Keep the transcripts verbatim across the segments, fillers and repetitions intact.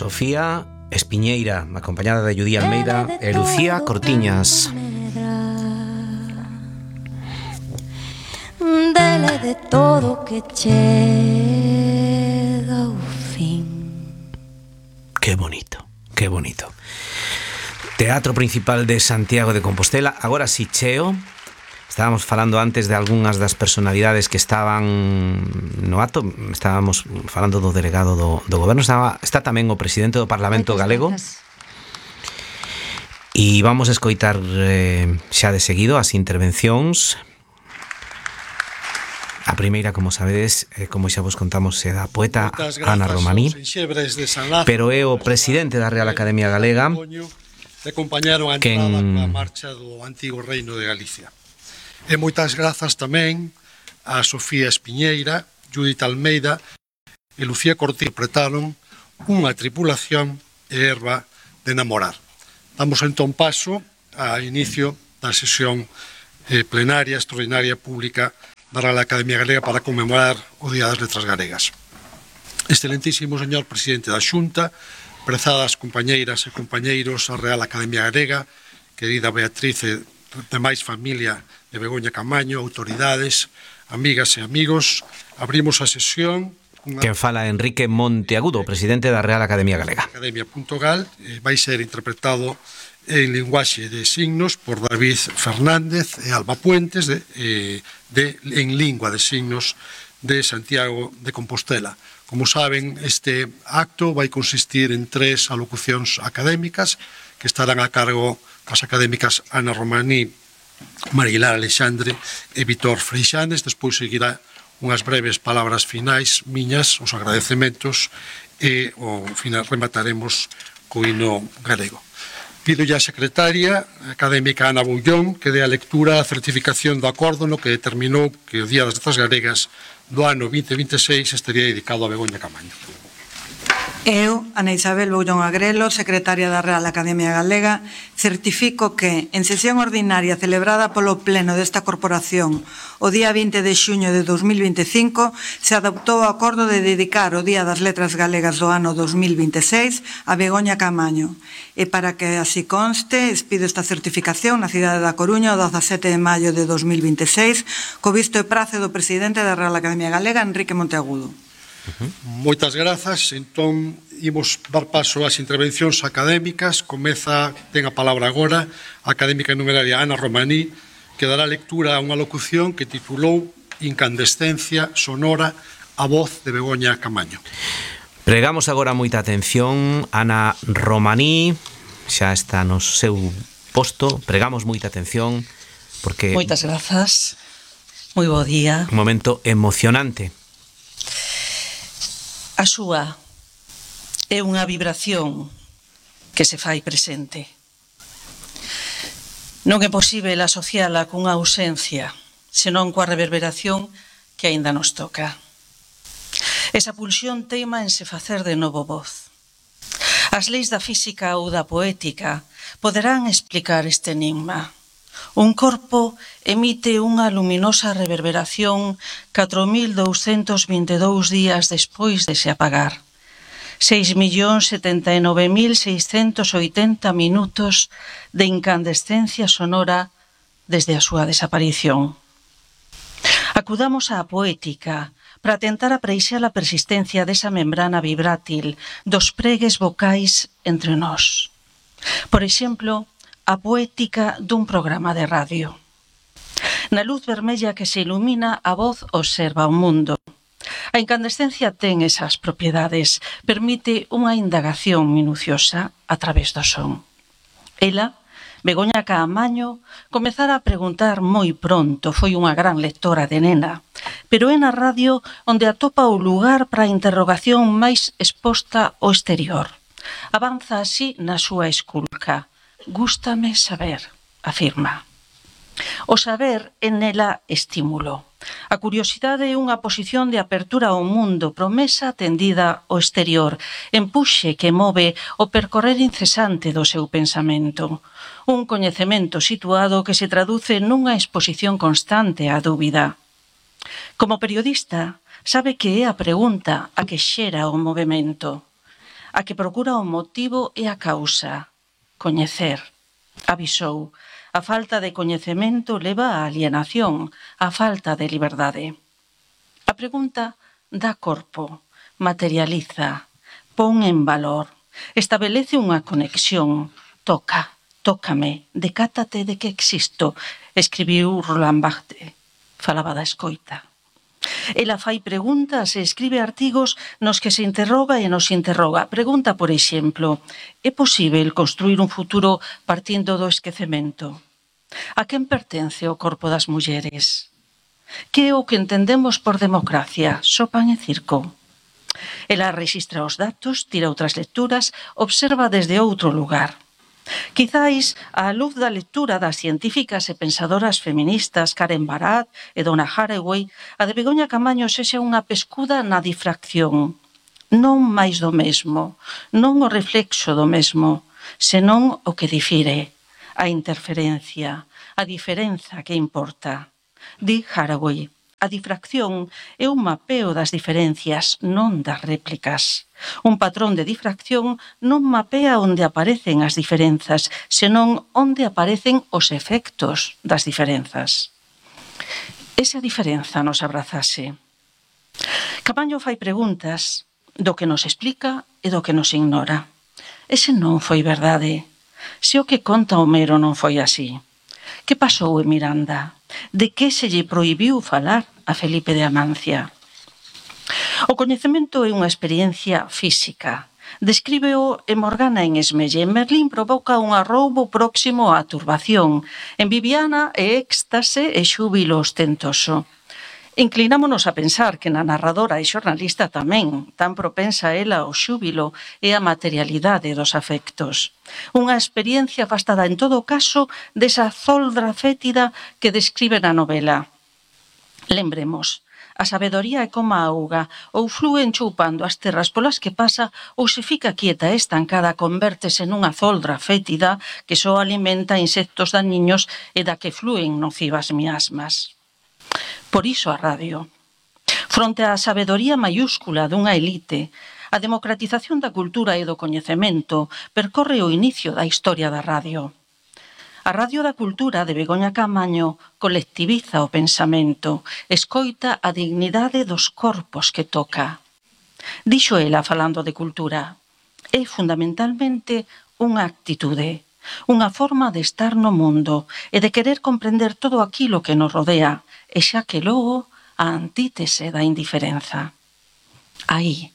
Sofía Espiñeira, acompañada de Judí Almeida e Lucía Cortiñas. Dele de todo que chega o fin. Qué bonito, qué bonito. Teatro Principal de Santiago de Compostela. Agora si cheo. Estábamos falando antes de algunhas das personalidades que estaban no acto. Estábamos falando do delegado do, do goberno. Estaba, está tamén o presidente do Parlamento galego. E vamos a escoitar eh, xa de seguido as intervencións. A primeira, como sabedes, eh, como xa vos contamos, é da poeta Ana Romaní, pero é o presidente da Real Academia Galega que acompañaron a entrada coa marcha do antigo Reino de Galicia. E moitas grazas tamén a Sofía Espiñeira, Judith Almeida e Lucía Cortiñas, interpretaron unha tripulación e herba de namorar. Damos entón paso ao inicio da sesión eh, plenaria extraordinaria pública da Real Academia Galega para conmemorar o Día das Letras Galegas. Excelentísimo señor presidente da Xunta, prezadas compañeiras e compañeiros da Real Academia Galega, querida Beatriz e demais familia de Begoña Camaño, autoridades, amigas e amigos, abrimos a sesión. Una... Quen fala Enrique Monteagudo, presidente da Real Academia Galega. Academia.gal eh, vai ser interpretado en linguaxe de signos por David Fernández e Alba Puentes de, eh, de, en lingua de signos de Santiago de Compostela. Como saben, este acto vai consistir en tres alocucións académicas que estarán a cargo das académicas Ana Romaní, Marilar Alexandre e Vítor Freixanes. Despois seguirá unhas breves palabras finais miñas, os agradecementos, e ao final remataremos co hino galego. Pido ya a secretaria académica Ana Bullón que dé a lectura a certificación do acordo no que determinou que o Día das Letras Galegas do ano vinte vinte e seis estaría dedicado a Begoña Camaño. Eu, Ana Isabel Boullón Agrelo, secretaria da Real Academia Galega, certifico que, en sesión ordinaria celebrada polo Pleno desta Corporación o día vinte de xuño de dos mil vinte e cinco, se adoptou o acordo de dedicar o Día das Letras Galegas do ano dos mil vinte e seis a Begoña Camaño. E para que así conste, expido esta certificación na cidade da Coruña o dezasete de maio de dos mil vinte e seis, co visto e prazo do presidente da Real Academia Galega, Enrique Monteagudo. Uh-huh. Moitas grazas. Entón, imos dar paso ás intervencións académicas. Comeza, ten a palabra agora a académica numeraria Ana Romaní, que dará lectura a unha locución que titulou Incandescencia sonora, a voz de Begoña Camaño. Pregamos agora moita atención. Ana Romaní xa está no seu posto. Pregamos moita atención porque... Moitas grazas. Moi bo día. Un momento emocionante. A súa é unha vibración que se fai presente. Non é posíbel asociala cunha ausencia, senón coa reverberación que aínda nos toca. Esa pulsión teima en se facer de novo voz. As leis da física ou da poética poderán explicar este enigma. Un corpo emite unha luminosa reverberación catro mil douscentos vinte e dous días despois de se apagar. seis millóns setenta e nove mil seiscentos oitenta minutos de incandescencia sonora desde a súa desaparición. Acudamos á poética para tentar apreixar a persistencia desa membrana vibrátil dos pregues vocais entre nós. Por exemplo, a poética dun programa de radio. Na luz vermella que se ilumina, a voz observa o mundo. A incandescencia ten esas propiedades, permite unha indagación minuciosa a través do son. Ela, Begoña Camaño, comezara a preguntar moi pronto, foi unha gran lectora de nena, pero é na radio onde atopa o lugar para a interrogación máis exposta ao exterior. Avanza así na súa esculca. Gústame saber, afirma. O saber é nela estímulo. A curiosidade é unha posición de apertura ao mundo, promesa tendida ao exterior, empuxe que move o percorrer incesante do seu pensamento. Un coñecemento situado que se traduce nunha exposición constante á dúbida. Como periodista, sabe que é a pregunta a que xera o movimento. a que procura o motivo e a causa, coñecer. Avisou, a falta de coñecemento leva á alienación, a falta de liberdade. A pregunta dá corpo, materializa, pon en valor, establece unha conexión, toca, tócame, decátate de que existo, escribiu Roland Barthes, falaba da escoita. Ela fai preguntas e escribe artigos nos que se interroga e nos interroga. Pregunta, por exemplo, é posível construir un futuro partindo do esquecemento? A quen pertence o corpo das mulleres? Que é o que entendemos por democracia? Só pan e circo? Ela rexistra os datos, tira outras lecturas, observa desde outro lugar. Quizáis, á luz da lectura das científicas e pensadoras feministas Karen Barad e Donna Haraway, a de Begoña Camaño sexa unha pescuda na difracción. Non máis do mesmo, non o reflexo do mesmo, senón o que difire, a interferencia, a diferenza que importa. Di Haraway, a difracción é un mapeo das diferencias, non das réplicas. Un patrón de difracción non mapea onde aparecen as diferenzas, senón onde aparecen os efectos das diferenzas. E se a diferenza nos abrazase? Camaño fai preguntas do que nos explica e do que nos ignora. Ese non foi verdade. Se o que conta Homero non foi así. Que pasou en Miranda? De que se lle prohibiu falar a Felipe de Amancia? O coñecemento é unha experiencia física. Descríbeo en Morgana en Esmelle. En Merlín provoca un arroubo próximo á turbación. En Viviana é éxtase e xúbilo ostentoso. Inclinámonos a pensar que na narradora e xornalista tamén, tan propensa ela ao xúbilo e a materialidade dos afectos. Unha experiencia afastada en todo caso desa zoldra fétida que describe na novela. Lembremos, a sabedoría é como a auga, ou flúe enchoupando as terras polas que pasa, ou se fica quieta e estancada, convértese nunha zoldra fétida que só alimenta insectos dañiños e da que flúen nocivas miasmas. Por iso a radio. Fronte á sabedoría maiúscula dunha elite, a democratización da cultura e do coñecemento percorre o inicio da historia da radio. A Radio da Cultura de Begoña Camaño colectiviza o pensamento, escoita a dignidade dos corpos que toca. Dixo ela falando de cultura, é fundamentalmente unha actitude, unha forma de estar no mundo e de querer comprender todo aquilo que nos rodea, e xa que logo a antítese da indiferenza. Aí,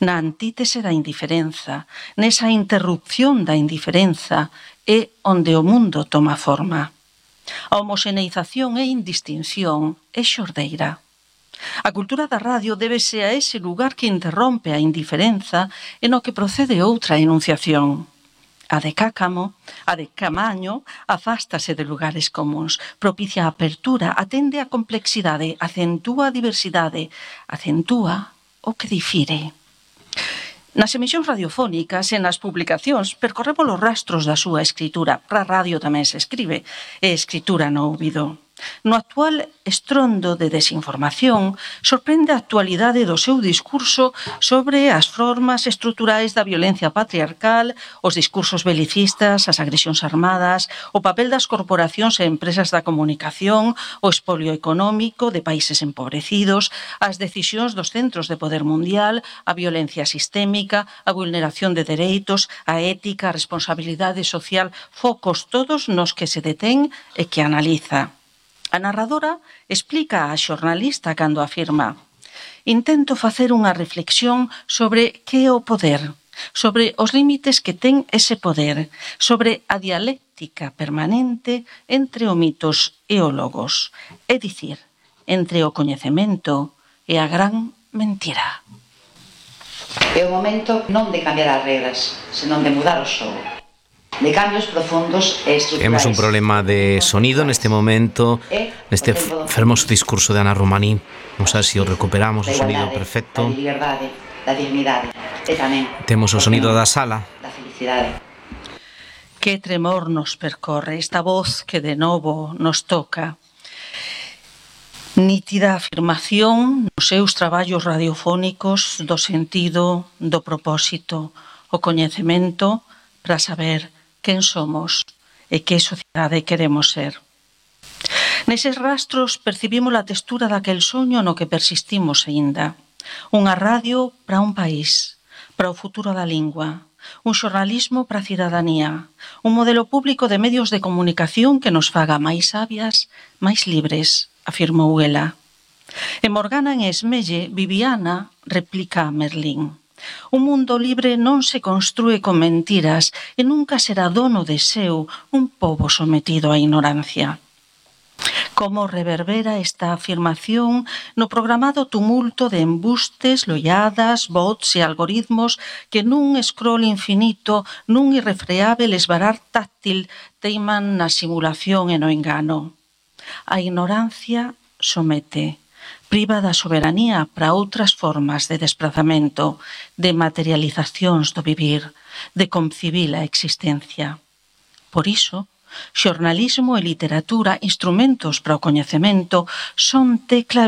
na antítese da indiferenza, nesa interrupción da indiferenza, é onde o mundo toma forma. A homoxeneización é indistinción, é xordeira. A cultura da radio débese a ese lugar que interrompe a indiferenza e no que procede outra enunciación. A de Cácamo, a de Camaño, afástase de lugares comuns, propicia a apertura, atende a complexidade, acentúa a diversidade, acentúa o que difire. Nas emisións radiofónicas e nas publicacións percorremos os rastros da súa escritura. Para a radio tamén se escribe, é escritura no ouvido. No actual estrondo de desinformación, sorprende a actualidade do seu discurso sobre as formas estruturais da violencia patriarcal, os discursos belicistas, as agresións armadas, o papel das corporacións e empresas da comunicación, o expolio económico de países empobrecidos, as decisións dos centros de poder mundial, a violencia sistémica, a vulneración de dereitos, a ética, a responsabilidade social, focos todos nos que se detén e que analiza. A narradora explica á xornalista cando afirma: intento facer unha reflexión sobre que é o poder, sobre os límites que ten ese poder, sobre a dialéctica permanente entre o mitos e o logos, é dicir, entre o coñecemento e a gran mentira. É o momento non de cambiar as regras, senón de mudar o xogo. De cambios profundos e estruturais. Temos un problema de sonido neste momento, neste fermoso discurso de Ana Romaní. Non sei se o recuperamos, o sonido perfecto. Da liberdade, da dignidade, e tamén temos o sonido da sala. Da felicidade. Que tremor nos percorre esta voz que de novo nos toca. Nítida afirmación nos seus traballos radiofónicos do sentido, do propósito, o coñecemento para saber quen somos e que sociedade queremos ser. Neses rastros percibimos a textura daquel soño no que persistimos aínda. Unha radio para un país, para o futuro da lingua, un xornalismo para a cidadanía, un modelo público de medios de comunicación que nos faga máis sabias, máis libres, afirmou ela. En Morgana en Esmelle, Viviana replica a Merlín. Un mundo libre non se construe con mentiras e nunca será dono de seu un pobo sometido á ignorancia. Como reverbera esta afirmación no programado tumulto de embustes, lolladas, bots e algoritmos que nun scroll infinito, nun irrefreável esvarar táctil teiman na simulación e no engano. A ignorancia somete, priva da soberanía para outras formas de desplazamento, de materializacións do vivir, de concibir a existencia. Por iso, xornalismo e literatura, instrumentos para o coñecemento, son tecla